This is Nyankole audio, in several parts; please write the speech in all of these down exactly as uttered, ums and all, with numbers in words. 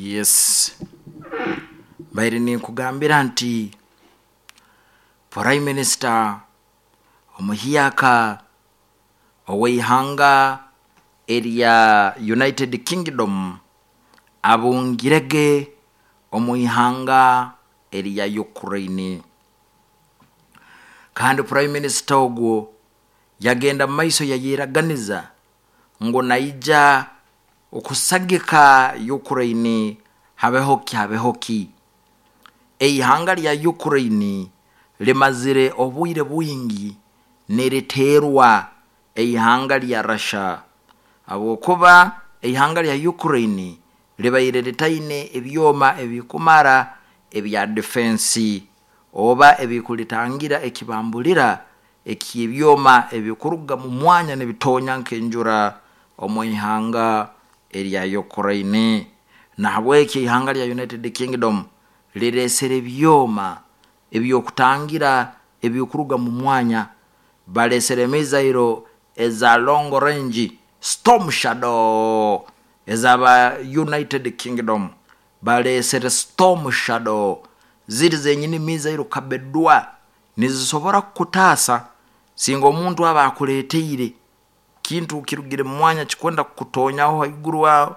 Yes, mbaire ninkugambira nti Prime Minister omuhyaka ow'eihanga erya United Kingdom abungirege omu ihanga erya Ukraine. Kandi Prime Minister ogwo yagenda mu maiso yayeraganiza ngu naija okusagika Ukraine habeho ki habeho ki. Eihanga rya Ukraine rimazire obwire bwingi niriteerwa eihanga rya Russia, habwokuba eihanga rya Ukraine ribaire ritaine ebyoma ebikumara ebya defense oba ebikuritangira ekibambulira eky'ebyoma ebikuruga mu mwanya nibitonya nk'enjura omu ihanga erya Ukraine. Nahabwekyo eihanga rya United Kingdom rireesere ebyoma ebyokutangira ebikuruga mu mwanya, baleesere mizairo eza long range Storm Shadow ezaba United Kingdom, baleesere Storm Shadow ziri zenyini mizairo kabedwa nizisobora kukutaasa singa omuntu aba akuleeteire kintu kirugire mu mwanya kikwenda kukutonyaho haiguru aho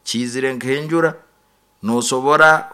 kiizire nk'enjura, nosobora